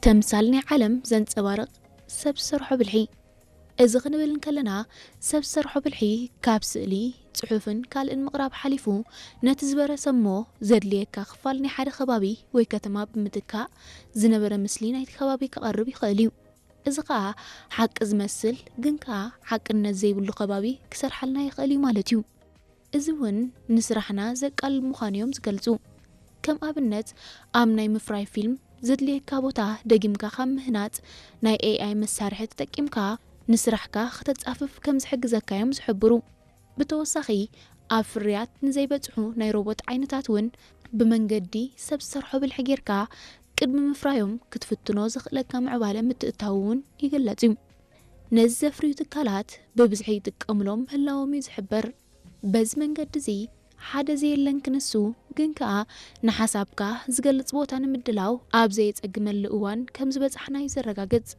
ተምሳል ናይ ዓለም ዘንጸባርቕ ሰብ ዝሰርሖ ብልሒ። እዚ ክንብል እንከለና፣ ሰብ ዝሰርሖ ብልሒ ካብ ስእሊ፣ ጽሑፍን ካልእን ምቕራብ ሓሊፉ፣ ነቲ ዝበረሰ እሞ ዘድልየካ ክፋል ናይ ሓደ ከባቢ ወይ ከተማ ብምትካእ፣ ዝነበረ ምስሊ ናይቲ ከባቢ ከቐርብ ይኽእል እዩ። እዚ ኸኣ ሓቂ ዝመስል ግን ከኣ ሓቅነት ዘይብሉ ከባቢ ክሰርሓልና ይኽእል እዩ ማለት እዩ። እዚ እውን ንስራሕና ዘቃልል ምዃኑ እዮም ዝገልጹ። ከም ኣብነት፣ ኣብ ናይ ምፍራይ ፊልም ዘድልየካ ቦታ ደጊምካ ካብ ምህናጽ፣ ናይ ኤኣይ መሳርሒ ተጠቂምካ ንስራሕካ ከተጻፍፍ ከም ዝሕግዘካ እዮም ዝሕብሩ። ብተወሳኺ፣ ኣብ ፍርያት ንዘይበጽሑ ናይ ሮቦት ዓይነታት እውን ብመንገዲ ሰብ ዝሰርሖ ብልሒ ጌርካ ቅድሚ ምፍራዮም ክትፍትኖ ዘኽእለካ ምዕባለ ምትእትታው እውን ይግለጽ እዩ። ነዚ ዘፍርዩ ትካላት ብብዝሒ ይጥቀምሎም ምህላዎም እዩ ዝሕበር። በዚ መንገዲ እዚ ሓደ ዘየለን ክንሱ ግን ከኣ ንሓሳብካ ዝገልጽ ቦታ ንምድላው ኣብ ዘየጸግመሉ እዋን ከም ዝበጻሕና እዩ ዘረጋግጽ።